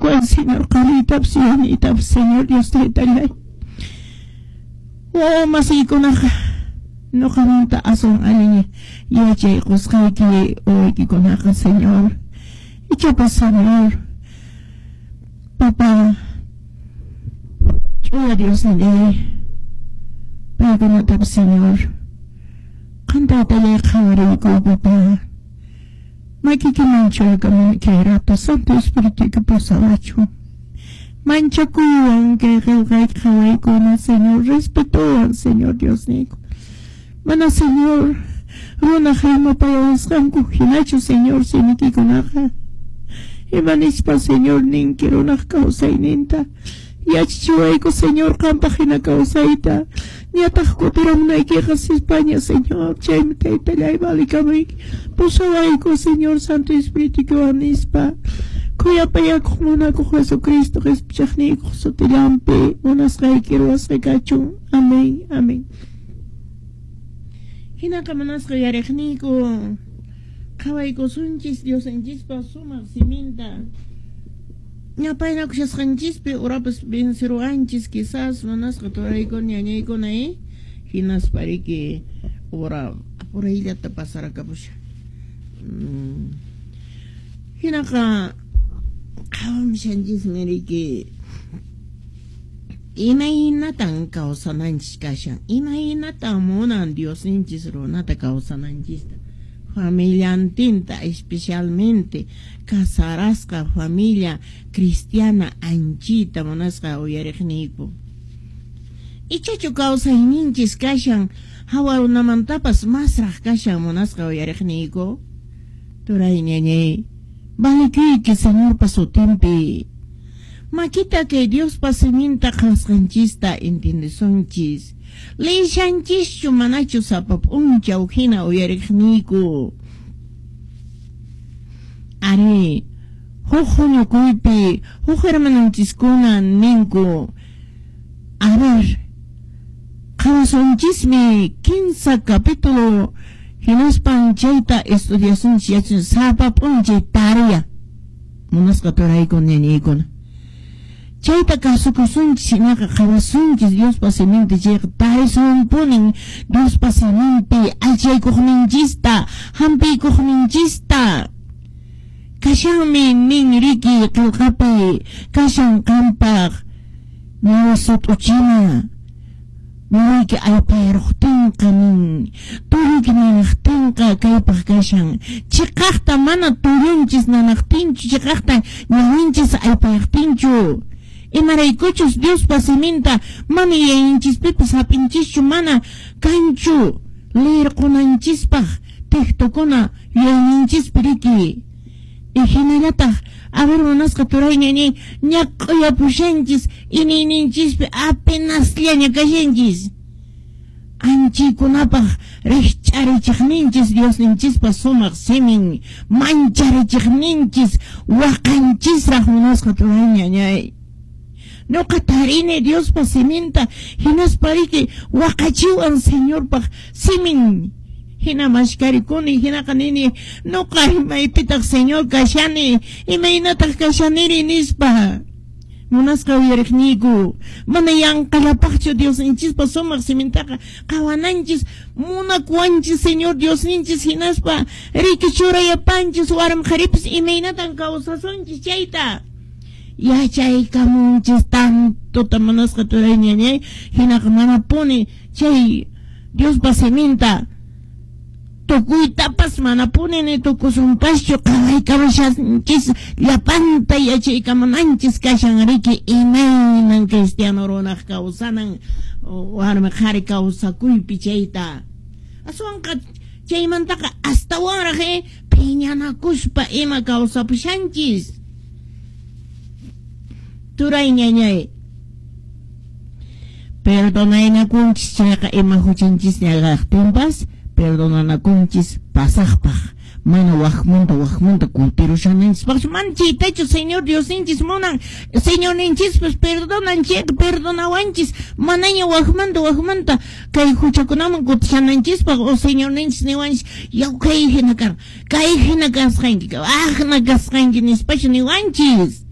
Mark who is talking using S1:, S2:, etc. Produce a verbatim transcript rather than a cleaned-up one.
S1: Yachachikuwan, Señor, qariytapas yaniytapas, Señor Dios Taytallay. Wawa masiykunaqa ñuqamanta aswan allin yachay qusqayki wawaykikunaqa, Señor. Ichapas, Señor, Papá, ch'uya Diosnillay, paykunatapas, Señor, qan Taytallay qhawariykuy, Papá. Makiykiman churakamuni kay rato Santo Espirituyki pusawachun. Manchakuywan kay qillqayki qhawaykuna, Señor, respetowan, Señor Diosniyku. Mana, Señor, runaq rimapayawasqanku hinachu, Señor, simikikunaqa. Ima nispa, Señor, ninki runaq kawsayninta. Yachachiwayku, Señor, qampaq hina kawsayta. Ñataq kutiramunaykiqa sispaña, Señor. Chaymi Taytallay valikamuyki. Pusawayku, Señor, Santo Espirituykiwan nispa. Khuyapayakuq munakuq Jesucristo qhispichaqniykuq sutillanpi munasqayki ruwasqa kachun. Amén, amén. Hinaqa munasqa yariqniyku qhawaykusunchis Diosninchispa sumaq siminta. Ñapaynakushasqanchispi urapas venceruwanchis quizás munasqa turaykuna ñañaykuna, eh? Hinaspa riki ura apurayllata pasarakamusha. Mm. Hinaqa qhawamushanchismi riki imaynatan kawsananchis kashan, imaynatan munan Diosninchis runata kawsananchista, familiantinta, especialmente casarasqa familia cristiana anchita munasqa uyariqniyku. Ichachu kawsayninchis kashan hawa runamantapas masraq kashan munasqa uyariqniyku. Turay ñañay, valikuyki Señorpa sutinpi. Makita kay Diospa siminta qhawasqanchista entiendesunchis. Leyshanchischu manachu sapa p'unchaw hina uyariqniyku. Ari, huk huñukuypi huk hermanonchiskuna ninku, a ver, qhawasunchismi kinsa capítulo hinaspan chayta estudiasunchis yachun sapa p'unchay tarea munasqa turayku ñañaykuna. Chayta kasukusunchis hinaqa qhawasunchis Diospa siminta chayqa tarisunpunin Diospa siminpi allchaykuqninchista hampiykuqninchista. Kashanmi nin riki qillqapi kashan qampaq ñawi sut'uchina ñawiyki aypayaruqtinqa nin tulluyki nanaqtinqa kaypaq kashan chiqaqta mana tullunchis nanaqtinchu chiqaqta ñawinchis aypayaqtinchu. Imaraykuchus Diospa siminta mana yayinchispipas hap'inchischu mana kanchu leerqunanchispaq textokuna yuyayninchispi riki. Y hinallataq a ver munasqa turay ñañay ñaq'uyapushanchis iniyninchispi apenasllaña kashanchis. Anchaykunapaq rikch'arichiqninchis Diosninchispa sumaq simin mancharichiqninchis waqanchisraq munasqa turay ñañay. Ñuqa tarini Diospa siminta hinaspa riki waqachiwan Señorpaq simin. Hina mashkarikuni hinaqa nini ñuqa imaypitaq Señor kashani imaynataq kashaniri nispa. Munasqa uyariqniyku mana yanqallapaqchu Diosninchispa sumaq simintaqa qhawananchis munakuwanchis Señor Diosninchis hinaspa riki churayapanchis warmi qharipis imaynatan kawsasunchis chayta. Yachaykamunchis tantota munasqa turay ñañay hinaqa manapuni chay Diospa siminta tukuytapas manapuni ni tukusunpaschu qhawaykamushanchis llapanta yachaykamunanchis kashan riki imaynan cristiano runaq kawsanan warmi qhari kawsakuypi chayta. Aswanqa chaymantaqa astawanraq eh, phiñanakuspa ima kawsapushanchis. Turay ñañay, perdonaynakunchis chayqa ima huchanchisña kaqtinpas perdonanakunchis pasaqpaq mana waqmanta waqmanta kutirushananchispaqchu mana chaytachu Señor Diosninchis munan. Señorninchispas perdonan chayqa perdonawanchis manaña waqmanta waqmanta kay huchakunaman kutishananchispaq o Señorninchis niwanchis yaw kay hina kar kay hina kasqanki aqna kasqanki nispachu niwanchis.